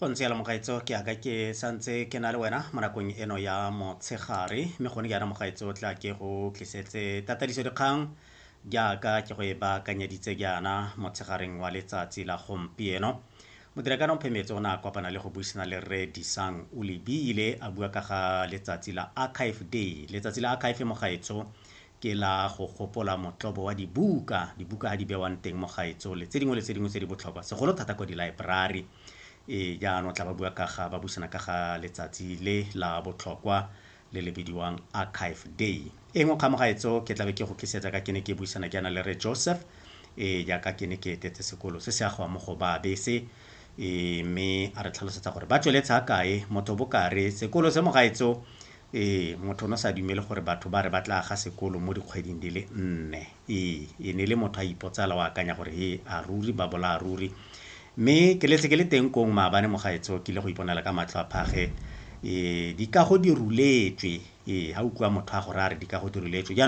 Go ntse jalo mogaetso, ke aka ke santse ke na le wena mo nakong eno ya motshegare, mme gone jaana mogaetso tla ke go tlisetse tatadiso dikgang jaaka ke go e baakanyeditse jaana motshegareng wa letsatsi la gompieno. Modirakano Phemetse o ne a kopana le go buisana le Rre Disang Olebile a bua ka ga letsatsi la Archive Day. Letsatsi la Archive mogaetso ke la go gopola motlobo wa dibuka, dibuka ha di bewang teng mogaetso le tse dingwe le tse dingwe tse di botlhokwa segolo thata kwa di-library. Ee, jaanong tla ba bua ka ga ba buisana ka ga letsatsi le la botlhokwa le le bidiwang Archive Day. E nngwe kgamogaetso ke tlabe ke go tlisetsa ka ke ne ke buisana ke ana le Rre Joseph, ee, jaaka ke ne ke etetse sekolo se se agwang mo go ba bese, ee, mme a re tlhalosetsa gore ba tsweletse ga kae. Motho bokare sekolo se mogaetso, ee, motho o ne sa dumele gore batho ba re ba tla aga sekolo mo dikgweding di le 4. Ee, e ne le motho a ipotsala o akanya gore he a ruri ba bolaya ruri. Mme ke letse ke le teng kong maabane mogaetso, ke ile go iponela ka matlho a phage, ee, dikago di ruletswe. Ee, ha utlwa motho a go raya re dikago di ruletswe jaanong.